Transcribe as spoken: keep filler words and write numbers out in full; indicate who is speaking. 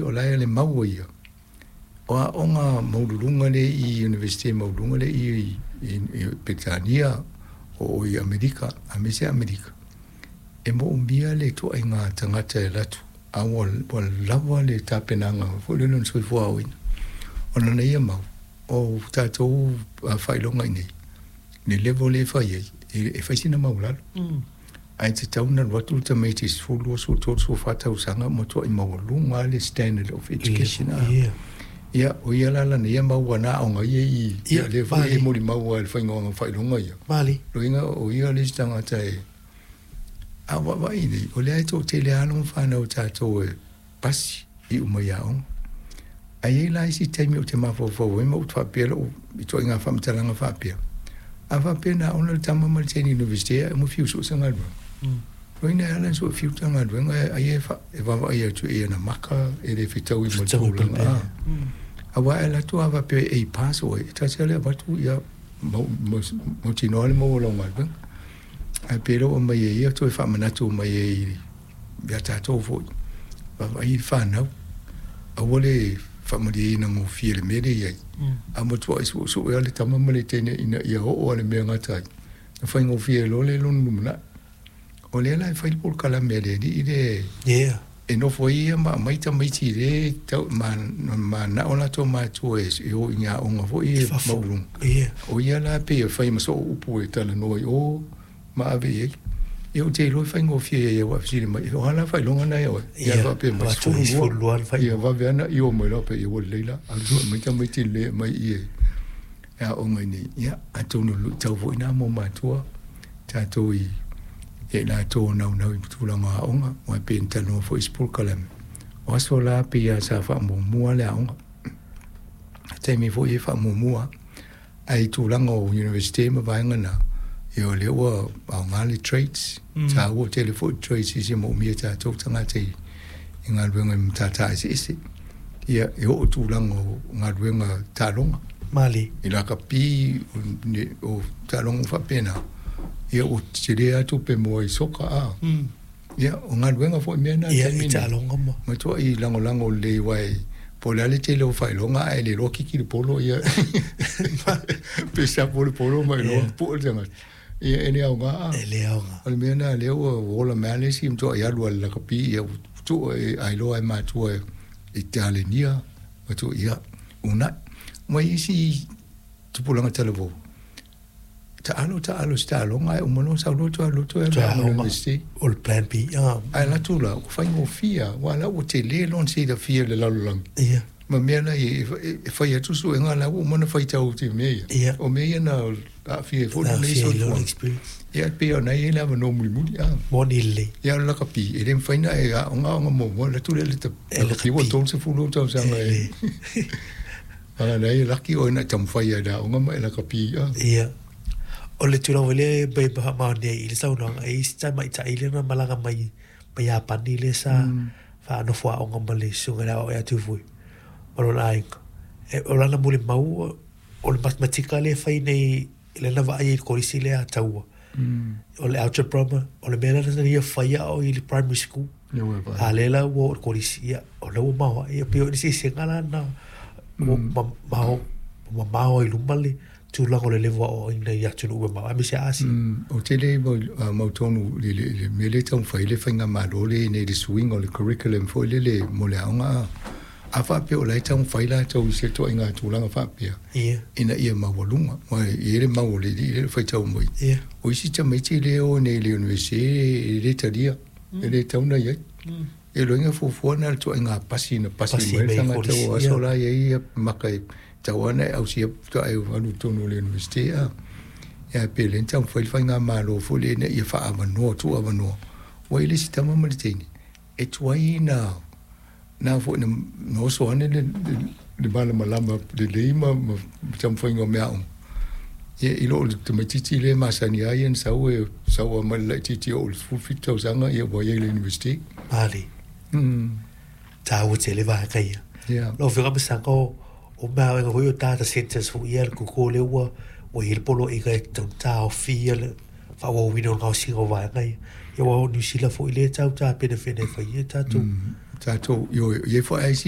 Speaker 1: o la e le mau ia o aoga maualuluga lea i Iunivesite maualuluga lea i i i Peretania o i Amerika aemaise Amerika e moomia le ituaiga tagata e alu atu a ua ua lava le tapenaga foi lele o le soifua aoaoina ona na ia mau o tatou faailoga i inei le level lea e fai ai e fai sina maualalo ae tatau ona alu atu le tamaiti sefulu lua, sefulu tolu, sefulu fa tausaga matuai maualuga le standard of education a ia o ia la lana ia mau ua na aoga ia i ia lea foi e molimau lava i le faiga o faailoga ia loiga o ia le isi tagata e a vaavaai nei o lea e toatele alo ma fanau a tatou e pasi iu mai aoga ae i ai la isi taimi ou te mafaufau ai ma ou faapea lou ituaiga faamatalaga faapea a faapea na aoga le tama ma le teine i le Iunivesite ae uma fiu sue se galuega loiga e ala ona sue fiu ta galuega ai e e vaavaai atu i ana maka e le fetaui ma le tulaga aua e alu atu a faapea e pass oe e tasi lava le avatu ia mautinoa le maua o lau galuega ae pei o lea ua aumai e ia toe faamanatu mai ai ia tatou foi vaavaai i fanau aua le faamalieina gofie i le mea lea e i ai a matuai suesue lava le tama ma le teine ina ia oo lava i le mea e gata ai na faigofie ai loa lea i lona lumanai o lea la e fai le polokalame a le alii lea
Speaker 2: Yeah.
Speaker 1: e nofo ai ia ma aumai tamaiti le tau mananao latou matua e o i ni aoga foi e maualuluga
Speaker 2: Yeah.
Speaker 1: o ia la pei e fai ma soo upu e talanoa i o ma ave i ai ia ou te iloa e faigofie ia aua e fesili mai o a la faailoga na e oe ia
Speaker 2: Ia,
Speaker 1: faapea mai
Speaker 2: avatu ai
Speaker 1: sefulu
Speaker 2: sefulu
Speaker 1: lua
Speaker 2: lua le
Speaker 1: ia vave lava na io mai loa pe ia ua lelei la alu sue mai tamaiti lelei e aumai i e aoga i nei ia atonu o le luitau foi lena mo matua tatou i ia i latou o naunau i tulaga o aoga aua e pei ona talanoa foi i isi polokalame o aso la pei lava sa faamuamua le aoga taimi foi e faamuamua ae i tulaga o Iunivesite ma vaega na ia o lea ua aoga le trades taua tele foi trades i se moomia e tatou tagata i i galuega i matata eseese ia e oo i tulaga o galuega taaloga
Speaker 2: Mali.
Speaker 1: i lakapi o, o taaloga faapena ia ua tele lava tupe maua i soka a ia o galuega foi mea na i le
Speaker 2: Ia,
Speaker 1: taimi
Speaker 2: i
Speaker 1: nei
Speaker 2: taaloga ma.
Speaker 1: matuai lagolago lelei aua e po o le a le tele o faailoga ae le iloa kiki le polo ia pe sapo le polo ma iloa
Speaker 2: Ia.
Speaker 1: pue le tagata ia e le aoga a
Speaker 2: E le aoga.
Speaker 1: o le mea lena lea ua ola mai lava le isi matuai alu lava i le lakapi ia ua tuu e ailoa e matua e talenia ma tuu ia unai ma isi tupulaga talavou taalo taalo i se taaloga ae uma loa sau loa toe alu loa toe alu
Speaker 2: Toe
Speaker 1: i le
Speaker 2: aoga.
Speaker 1: Iunivesite
Speaker 2: O le plan B. Ah.
Speaker 1: ae alu atu la ua faigofie aua la ua tele lona silafia i le lalolagi
Speaker 2: Ia.
Speaker 1: ma mea la e e fai atu suega la ua uma ona faitau i mea ia
Speaker 2: Ia.
Speaker 1: o mea ia na aafia ai foi
Speaker 2: Na
Speaker 1: lenei
Speaker 2: aafia ai lona
Speaker 1: soifuaga
Speaker 2: experience.
Speaker 1: ia e pei ona i ai le avanoa mulimuli a
Speaker 2: Moni lelei.
Speaker 1: ia o le lakapi e le mafai ona e aoga aoga muamua alu atu lea i le
Speaker 2: E
Speaker 1: lakapi ua
Speaker 2: lakapi.
Speaker 1: tolu sefulu ou tausaga
Speaker 2: E
Speaker 1: e a e laki oe na e taumafai ai i le aoga ma e lakapi a
Speaker 2: Ia. O le tulaga foi lea e faamaonia i le saunoaga, e i ai si tamaitai lea na malaga mai mai Iapani lea sa faanofo aoga ma le susuga i le aoao ia Tufui ma lona aiga. E, o lana molimau o le matematika lea e fai nei lea na vaai ai i le kolisi lea a Taua. O le algebra ma o le mea lea na ia faia a o i le primary school. A lea la ua oo i le kolisi, ia o lea ua maoae. Ia pei o le eseesega la lena ua mamao mamao ai i luma le tulaga o le level aoaoina i atunuu mamao aemaise Asia.
Speaker 1: Ou te le mautonu i le mea lea e taumafai ai le faigamalo lea i nei i le suiga o le curriculum foi lele mo le aoga a faapea o la e taumafai latou i se ituaiga tulaga faapea
Speaker 2: Ia.
Speaker 1: ina ia maualuga aua e i ai le mau o le alii lea e faitau mai
Speaker 2: Ia.
Speaker 1: o isi tamaiti lea e o nei i le Iunivesite e le talia e le tatau ona i ai e loiga fuafua na le ituaiga pasi na pasi
Speaker 2: Pasi
Speaker 1: mai le
Speaker 2: mai
Speaker 1: tagata
Speaker 2: kolisi,
Speaker 1: o aso
Speaker 2: ia.
Speaker 1: la e i ai ia maka e tatau lava ona e ausia faatoa e alu i totonu o le Iunivesite a ia pe lea na taumafai le faigamalo foi lea ina ia faaavanoa tuuavanoa ua i ai le isi tama ma le teine e tuai na na foi na oso ane le le malamalama lelei ma ma taumafaiga o mea aoga ia i loo le tamaitiiti lea e masani ai ia na sau e sau lava mai le laitiiti oo i le sefulu fitu tausaga ia ua i ai i le Iunivesite
Speaker 2: Mali.
Speaker 1: mm
Speaker 2: Taua tele vaega ia.
Speaker 1: yeah
Speaker 2: Lau Afioga Masaga o o mea aoga foi o data centers foi ia le Google lea ua ua i ai le poloaiga e tatau ona taofi ia le faaauauina o le gaosiga o vaega ia. Ia aua o Niu Sila foi lea e tau tapenapena e fai ia tatou
Speaker 1: tatou ioe e i ai foi lava isi